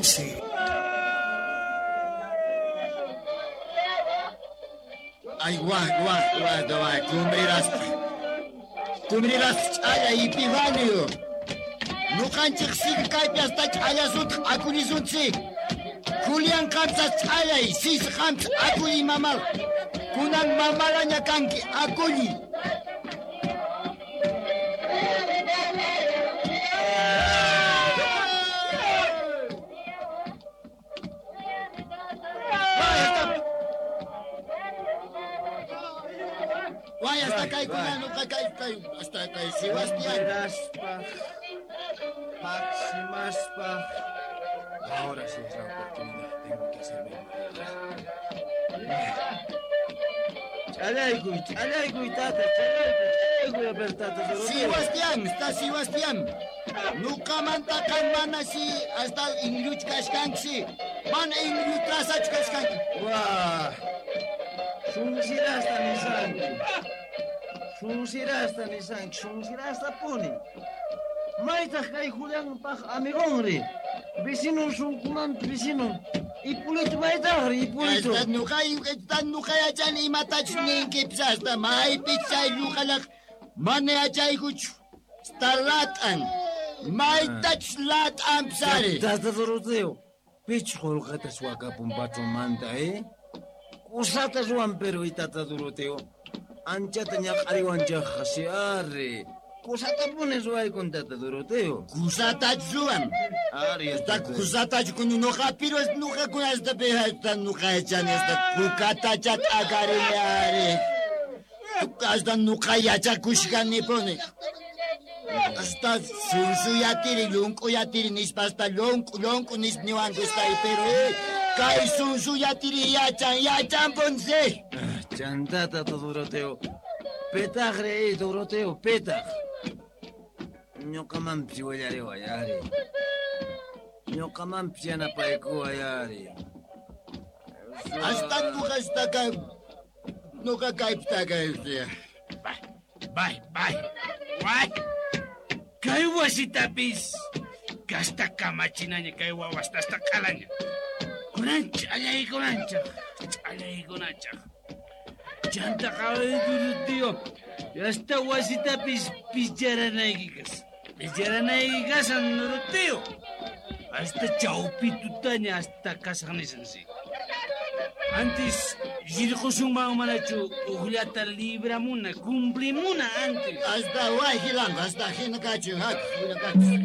José. Ay, guau, guau, guau, guau, cumriraspa. Cumriraspa ch'alla Epifanio. Nuqanchik sigue kaypi hasta ch'allasutaq akullisunchik. Julián qamsas ch'allay, sis qamsa akulli mamal. Kunan mamalaña kanki akulli. Guay, hasta kay kunan nuqa kay kay hasta kay Sebastián. Maximaspa. Ahora sí es la oportunidad. Tengo que hacerme Chalaykuy, chalaykuy, tata, chalaykuy, chalaykuy, a ver, tata. Sebastián, está Sebastián. Nuqamanta qan mana si hasta inlluch kashkanki. Mana inllu trasach kashkanki. Wah. Sunsirasta nisanki. Sunsirasta nisanki, sunsirasta puni. Maytaq kay Julianpaq amigonri. Vecinon sunkumanta vecinon. Hipólito maytaqri, Hipólito. Hasta nuqa hasta nuqa yachani imatachus ninkipis hasta maypi chay lluqalaq mana yachaykuchu. Hasta lat'an. Maytachus lat'anpis ari. Tata Doroteo, pich qulqata suwakapun patronmanta, eh? Kusata ruwan pero y tata Doroteo. Anchata ñaq'ariwanchaqqa si ari. Kusatapuni ruwaykun tata Doroteo. Kusatachu ruwan. Ari, Hasta kusatachu kunu nuqa pero nuqa kuna hasta pe hasta nuqa yachani hasta kukatacha t'akarini ari. Hasta nuqa yachakushkanipuni. Hasta sunsuyatiri llunk'uyatiri nispa hasta llunku llunku nispa niwanku hasta pero kay sunsuyatiri yachan yachanpunsi. Chanta tata Doroteo. Petaqri, Doroteo, petaq. Ñuqamanpis willariway ari. Ñuqamanpis yanapaykuway ari. Hasta nuqa hasta kay nuqa kaypita kay Bay, bay, bay. Kay wasitapis kasta kamachinaña kay wawasta hasta q'alaña. Kunan ch'allaykunanchaq, ch'allaykunachaq. Chanta qaway Doroteo, hasta wasitapis picharanaykikas. Picharanayki kasan Doroteo. Hasta chawpi tutaña hasta kasaq nisansi. Antes rirqusunman manachu uqllata libramuna, cumplimuna antes. Hasta wayjilanqa hasta hina kachu hak hina kachu.